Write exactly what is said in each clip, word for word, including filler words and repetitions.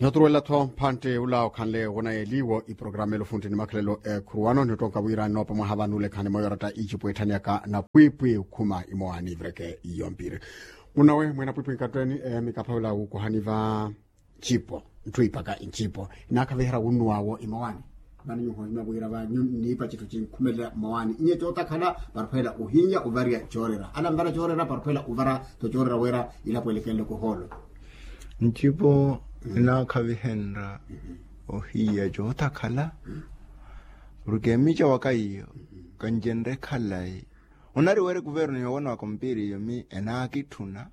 Noturuwela-tho mphantte ula okhanle wonayeliwo iprogramu ela ofuntti ni makhalelo ekhuruwano ni ottonka wira nnoopa mwaha vano olekhani mwa yoratta icipu etthaniyaka napwiipwi okhuma imowaani ivireke iyo mpiri. Munawe mwena pwiipwi nkatteeni mikaphavela wuukuhani va ncipo ntthu ipaka ncipo inaakhaviherya wunnuwaawo imowaani. Vano nyuho imavwira va nniipa citthu cinkhumelela mmowaani inye cootakhala parphweela ohinya ovarya coorera ala nvara coorera parphweela ovara to coorera wira ilapo elekenle kuhoolo. Ncipo inaakhavihenrya ohiya cootakhala. Porke mica waka iyo kancenre khalayi onari weri kuverno yoowanaka ompiri iyo mi enaakitthuna.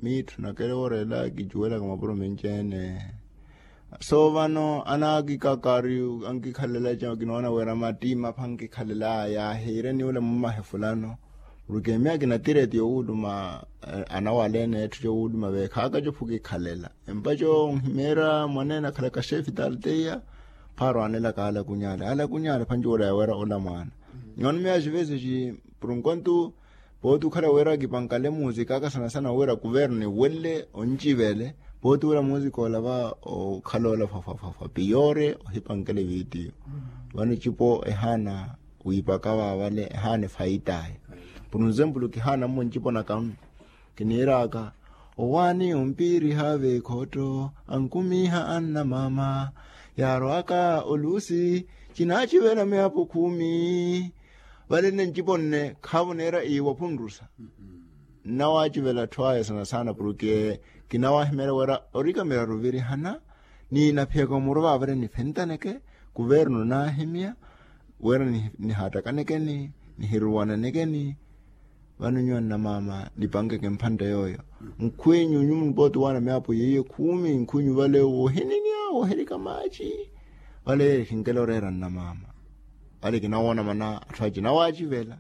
Miitthunakele woorela kicuwelaka mapuro menci-ene. So vano anaakikakari ankikhalela ca kinoona wira mattiima apha ankikhalela yaahiire ni ule mummahe fulano. Porke miya kinatira eti yowuuluma anawaleene etthu cowuuluma veekhaaka cophu kikhalela empaco onhimeera mwaneene akhalaka xeefi talteiya. Phaaro aanelaka alakunyaale alakunyaale phanci wula yawera ula mwaana. Nyono miya xivesi xi purunkontu pooti okhala wira kipankale muusika aka sana sana wira kuverno niwelle oncivele pooti wira muusika ola va okhala ola fwafwafwa piyoore ohipankele viitiyo. Vano ecipo ehaana wiipaka vaavale ehaana efaitaye. Purunzempulu kihaana mmo ncipo naka kiniiraka owaani ompiiriha veekhotto ankumiiha annamaama yaarwaka oluusi. Cinaacivela miyapo khumi. Vale nne ncipo nne khaavo neera iiwa phunrusa nnawaacivela atthu aya sana sana porke kinawahimeerya wira orika miraru ovirihana. Ni naphiyaka omuru vaavale nifentaneke kuverno naahimya wira nihattakanekeni nihiruwananekeni. Vano nyuwo nnamaama nipankeke mphantte yooyo nkhwinyu nyuwo mupooti owaana miyapo yeiye khumi nkhwinyu vale woohininya woohirika maaci. Vale yeeyo ehinkela oreera nnamaama vale kinawoona mana atthu aci nawaacivela.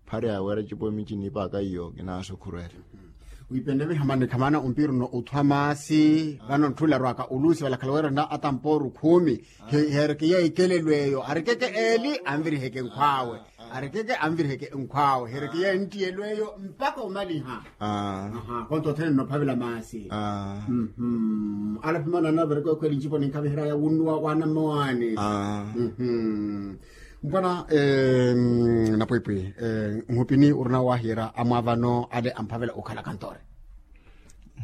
Phari awera cipo emici niipaaka iyo kinaasukhurerya. Wiipenle vihamani khamana ompiri ono othwa maasi vano ntthu larwaka oluusi valakhala weerana atampooru khumi. Heereke yeeyo ikelelo eyo arikeke eeli anviriheke nkhw'awe. Arikeke anviriheke nkhw'awe heereke yeeyo nttiyelo eyo mpakha omaliha. Konto othene nnophavela maasi. Alaphimana anavereke okhweli ncipo ninkhaviherya wunnuwa waana mmowaani. Mpwana napwiipwi nhupini orina owahiyerya amwaavano ale amphavela okhala kantoori.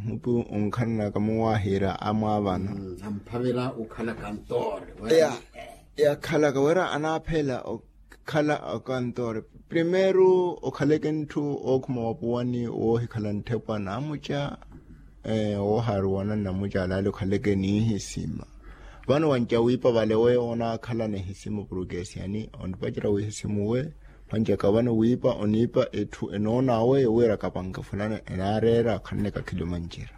Nhupi onkhananaka muwahiyerya amwaavano amphavela okhala kantoori. Yakhalaka wira anaaphela okhala kantoori primeiro okhaleke ntthu ookhuma wapuwani woohikhala ntthepwa naamuca. Woohaaruwana nnamuca alaale okhaleke niihisima. Vano wanca wiipa vale we onaakhalana ehisima porke esiyani onipacerya wihisimuwe. Wanca ka vano wiipa oniipa etthu enoon'awe wira kapanke fulani enaareera akhanle kakhili omancira.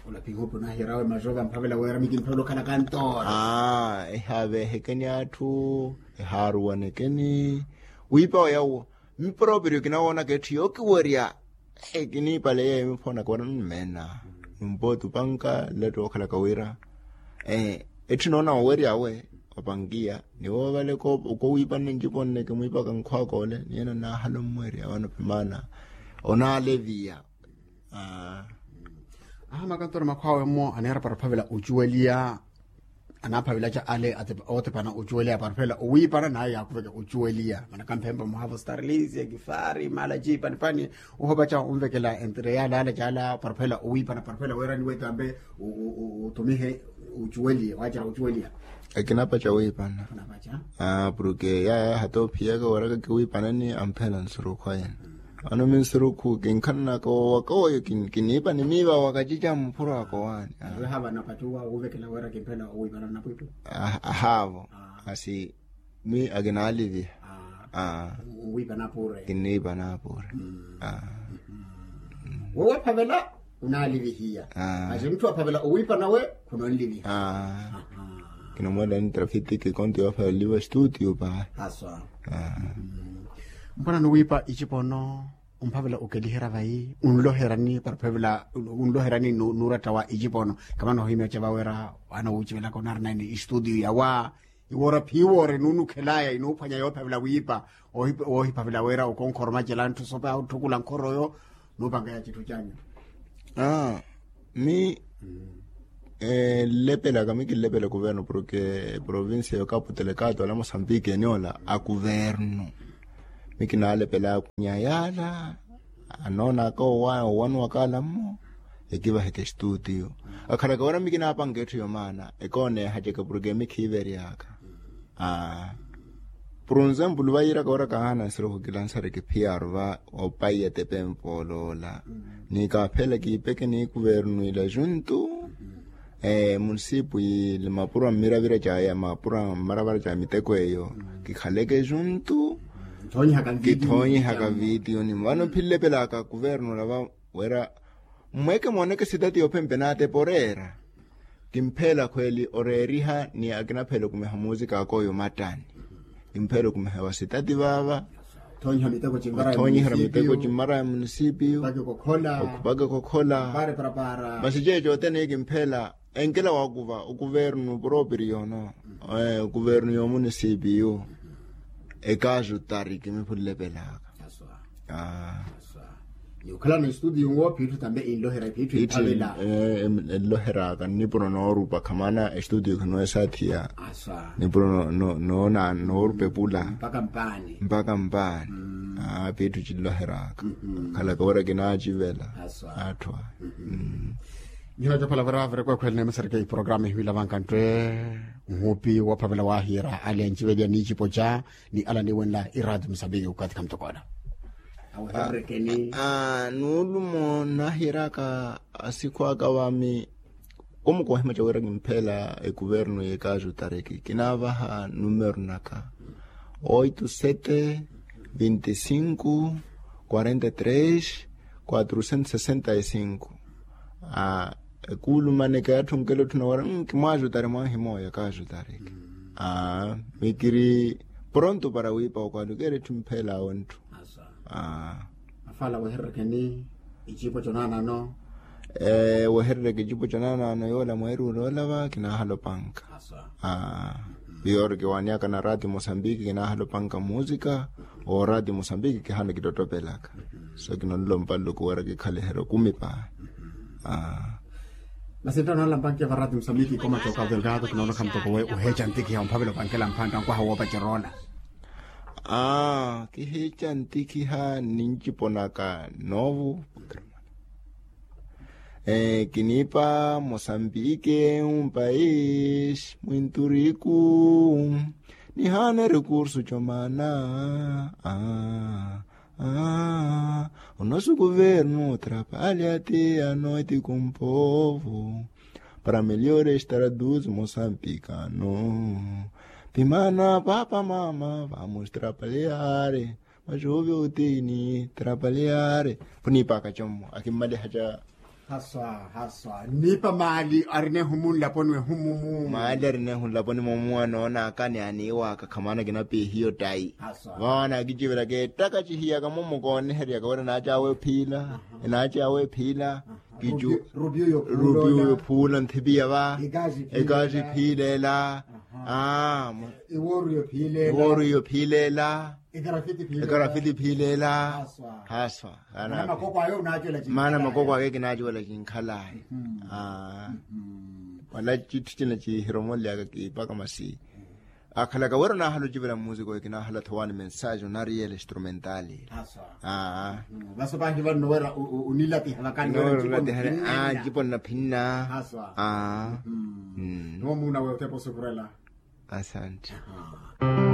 Olapihupi onahiyeryawe mazoka mphavela wira mikimphavela okhala kantoora. Ehaaveehekeni atthu ehaaruwanekeni. Wiipa oya uwo miporopirio kinawoonaka etthu yookiwerya. Kiniipale yeeyo miphoonaka wira nnumeena. Numpooti opanka nletto wookhalaka wira etthu noona owery'awe opankiya ni woovale okoowiipanne ncipo nne kimwiipaka nkhw'aka ole ni ena naahala omweerya vano pimaana onaaleviya. Aha makantoori makhw'awe mmo aneera paraphavela ocuweliya. Anaaphavelaca ale ootepana ocuweliya paraphavela owiipana naye yaakuveke ocuweliya manaka mphempa muhavo starlisia kifari mala ciipanipani. Ohopaca onvekela entre yaalaala caala paraphavela owiipana paraphavela weerani wetambe otumihe ocuweliya waacerya ocuweliya. Ekinapaca wiipana. Porke yaya hata ophiyaka waraka kiwiipanani amphela nsurukhu ayene. Vano minsurukhu kinkhananaka wowaka oyo kiniipa ni miiva wakacica muphuro aka owaani. Ewe haava napattuwa wuuvekela wira kimphela owiipana nnapwiipwi. Ahaavo. Asi mi akinaaliviha. Owiipana apure. Kiniipa naapure. Woowaphavela onaalivihiya. Asi mutthu aphavela owiipana we khunonliviha. Kinamweela ni trafitiki konto yoophavela oliva studio pahi. Haswa. Mpwana nuwiipa icipono omphavela okeliherya vayi onloherani paraphavela onloherani nuuratta wa icipono. Kamana ohimya oceva wira wana wuucivelaka onarina ni istudio yawa. Iwoora phiiwoore nuunukhelaya inuuphwanya yoophavela wiipa woohiphavela wira okonkhoroma cela ntthu sopa otthukula nkhoroyo. Nuupankeya citthu canyu. Mi Nlepelaka mi kinlepela kuvernu porke provincia yo kapu telekato ala mosambiki eniola a kuvernu. Mi kinalepelaka kunya yala anoonaka owanuwaka ala mmo. Ekivaheke estuutiyo akhalaka wira mi kinapanka etthu yomaana ekooneehaceke porke mi khiiveryaka. Aa. Purunzempulu vayiiraka wira kahaana nsiruhu kilansareke phiyaaru va opaiya tepe mpooloola. Ni kaaphela kiipeke ni kuvernu ila juntu. Munisipu yili mapuro a mmiravira caya mapuro a mmaravara ca miteko eyo kikhaleke juntu. Kithoonyihaka vitiyoni vano philepelaka kuvernu lava wira mmweke mooneke sitati yophempe naatepa oreera. Kimpheela khweeli oreeriha ni akinaphela okumiha muusika akooyo mattani. Kimpheela okumiha wa sitati vaava. Othoonyihara miteko cimmara ya munisipiyu okhupaka ekokhola. Masi ceeco othene kimpheela enkela wakuva okuvernu proprio no. Okuvernu yo munisipiyu. Ekaasu tari kimiphullepelaka. Ni okhalana estudio nwo phiitthu tambe enloheraka phiitthu. Phiitthu enloheraka nipuro noorupa khamana estudio khinowesaathiya. Nipuro noona noorupa epula mpaka mpaani. Phiitthu cinloheraka. Khalaka wira kinaacivela atthu aya. Nihina copala vira vireko ekhwele neemesereke iprograma ehiwila vankanttwe nhupi woophavela waahiira ale anciveliya niicipo ca ni ala niiwenla iraati musambiki okathi khamutokoola. Nuulumo nahiiraka asikhu aka vami. Kumukohimaca wira kimpheela ekuvernu y'ekaasu tariki kinaavaha numero naka oito sete vinte cinco quarenta três quatrocentos sessenta e cinco. Ekuulumaneke atthu nkela otthu nawara nkimwaajutari mwaahimooya kaajutareke. Mikiri pronto para wiipa okwalukeera etthu mpheelaawe ntthu. Afala weherereke ni icipo conaanano. Weherereke icipo conaanano yoola mweeri oloolava kinaahala opanka. Piyorki waaniyaka na rati mosambiki kinaahala opanka muusika. Oorati mosambiki kihaana kitottopelaka. So kinonlompalluku wira kikhaliherya okumi paa. Masi nttano nalampanke varati mosambiki ikoma coka delgado kinoonokha mutoko we oheeca ntikiha omphavela opankela mphantta nkwaha woopaceroola. Kiheeca ntikiha ninjiponaka noovo. Kiniipa mosambike un pais muinturiku. Nihaana recurso comana. O nosu kuvernu trapalya ti anoiti kumpovu. Para meliore estar dus mosampikano. Pimana papa mama vamustrapalyare. Maxuvi otini trapalyare. Khuniipaka commo akimmaliha ca. Haswa haswa nniipa maali arina ehumu nlaponi wehumumu. Maali arina ehu nlaponi momuwa noonaka ni aniiwaka khamana kinapihiyo tayi. Vawana akicivelaka ettaka cihiyaka momo kooneheryaka wira enaaci awe phiila. Enaaci awe phiila. Rupiyu yo phuula nthipiya va. Ekaaci phiilela. Iwooru yo phiilela. Ekarafiti phiilela. Haswa. Maana makoko ake kinaacuwela kinkhalaayi. Wala citthu cina cihiromolyaka kiipaka masi. Akhalaka wira onaahala ocivela mmusiko kinaahala thowaani mensaaji onariyela instrumentali. Vasi opahi vanno wira onilatiha vakani wira ncipo nnaphinna. Niwo muuna we otepa osuvurela. Asante.